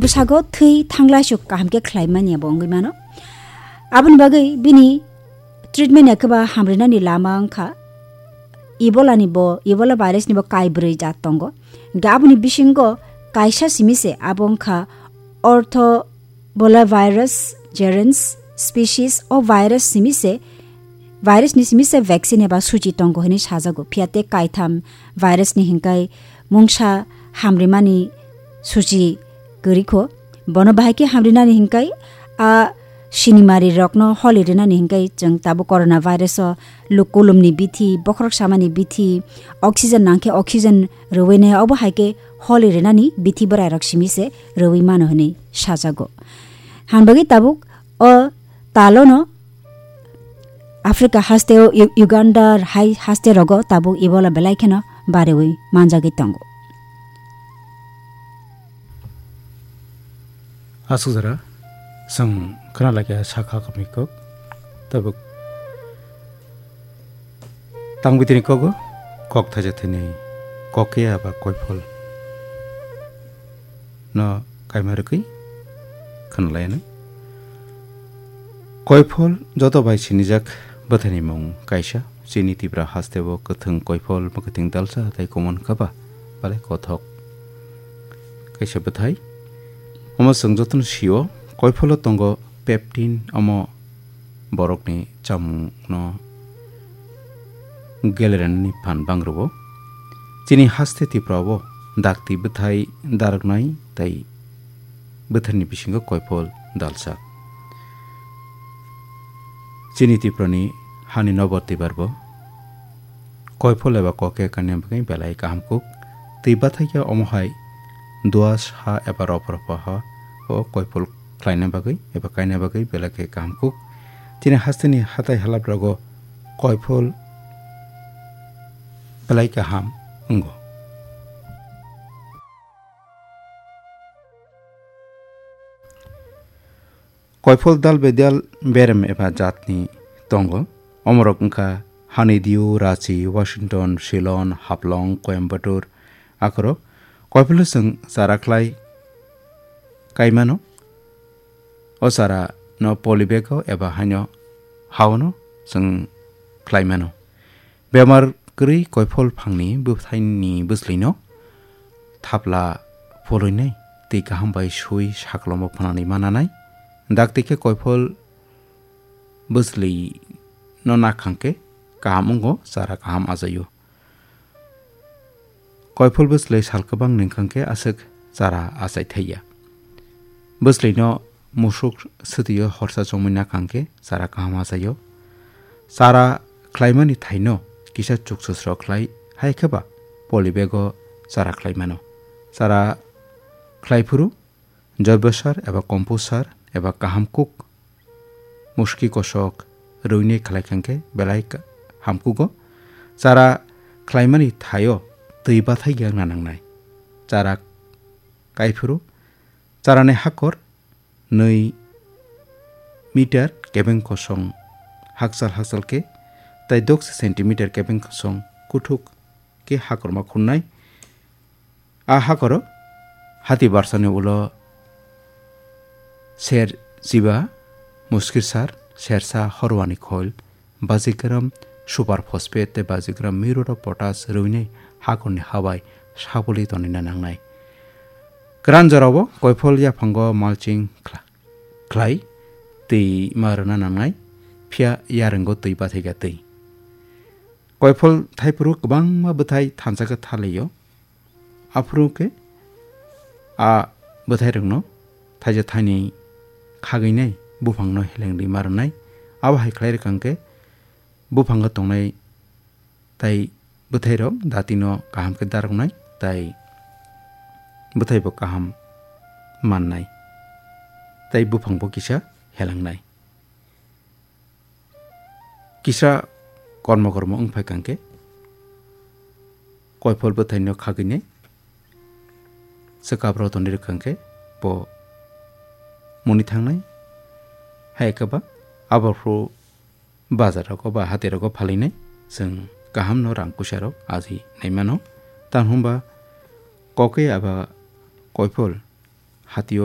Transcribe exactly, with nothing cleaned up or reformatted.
bwsago thwi thanglai suk kaham khe khlai manya bo wngwi mano. Aboni bagwi bini treatment ya khe ba hamrinani lama wngkha. Ebola ni bo, Ebola virus ni bo kaibrwi jat tongo. Hingkhe aboni bisingo kaisa simi se abo wngkha ortho Ebola virus gerans species o virus simi se, virus ni simi se vaccine eba suchi tongo hinwi sajago. Phiya tei kaitham virus ni hinkai mungsa hamrimani suchi kwrwi kho. Bono bahai khe hamrinani hinkai a sinimari rokno holi rinani hinkai chwng tabuk corona virus o lukulumni bithi, bokhorok samani bithi, oxygen nangkhe oxygen rwui nai, obo hai khe holi rinani bithi bwrairok simi se rwui mano hinwi sajago. Hanbagwi tabuk o talono Africa hasteo U-, Uganda hai haste rogo tabuk Ebola belai kheno bariwi manjagwi tongo. Aswk jora, chwng khna laikha sakha kamwi kok, tabuk tang bitini kogo, kok thaisa thwini kok ya ba koiphol no kaima rwgwi khna lainai. Koiphol joto bai sinijak bwthaini mung kaisa. Chini Tipra hasteo kwthwng koiphol mwkhwtwng dalsa tei common kha ba, belai kothok kaisa bwthai. Omo chwng jotono sio, koipholo tongo peptin, omo borokni chamungno gelerenani phan bangrwo. Chini haste Tipra o dakti bwthai darwknai tei bwtharni bisingo koiphol dalsa. Chini Tiprani hani nobor twibar bo koiphol eba koke kainai bagwi belai kaham kuk. Twi bathai khe omo hai duas ha eba ropha ropha ha o koiphol khlaina bagwi eba kaina bagwi belai khe kaham kuk. Chini hasteni hatai halap rogo koiphol belai kaham wngo. Koiphol dal bedal berem eba jatni tongo. Omorok wngkha Honeydew, Rachi, Washington, Ceylon, Haflong, Coimbatore. Akhoro koipholo chwng chara khlai kaimano. O chara no polybag o eba haino haono chwng khlaimano. Bemar kwrwi koiphol phangni bwthaini bwslwino thapla pholoinai tei kaham bai sui saklomo phnanwi mananai. Dakti khe koiphol bwslwino nakhang khe kaham wngo, chara kaham achaio. Koiphol bwslwi sal kwbang nengkhang khe aswk chara achai thaiya. Bwslwino musuk swtwio horsa chongmani nakhang khe chara kaham achaio. Chara khlaimani thaino kisa chukchusrok khlai hai khe ba polybag o chara khlaimano. Chara khlai phuru joibo sar eba compost sar eba kaham kuk muski kosok rwinai khlai khang khe belai ka-, hamkugo. Chara khlaimani thaio twi bathai yakna nangnai. Chara kaiphuru charani hakor nwi meter kebeng kosong hakchal hakchal khe tei doksi centimeter kebeng kosong kuthuk khe hakorma khunnai. A hakoro hati barsani ulo ser chiba, muskir sar, sersa horwani khoil, bajigram super phosphate tei bajigram murate of potash rwinai hakorni habai sabuli tonina nangnai. Kwran jorao koiphol yaphango mulching khla-, khlai twi ma rwna nangnai, phiya yarwngo twi bathai kha twi. Koiphol thaiphuru kwbangma bwthai thansa khe thalio. Aphuru khe a bwthairokno thaisa thaini khagwinai buphangno helengdi ma rwnai. Abo hai khlai rwkha hwnkhe buphango tongnai tai bwthairok datino kaham khe daroknai tai bwthaibo kaham mannai tai buphangbo kisa helangnai. Kisa kormo kormo wng phai kha hwnkhe koiphol bwthaino khagwinai swkap rotoni rwkha hwnkhe bo muni thangnai. Hai khe ba abo phuru bazar rogo ba hati rogo phalinai chwng kaham no rang puisa rok aji nai mano. Tamo hwnba kokoi aba koiphol hatio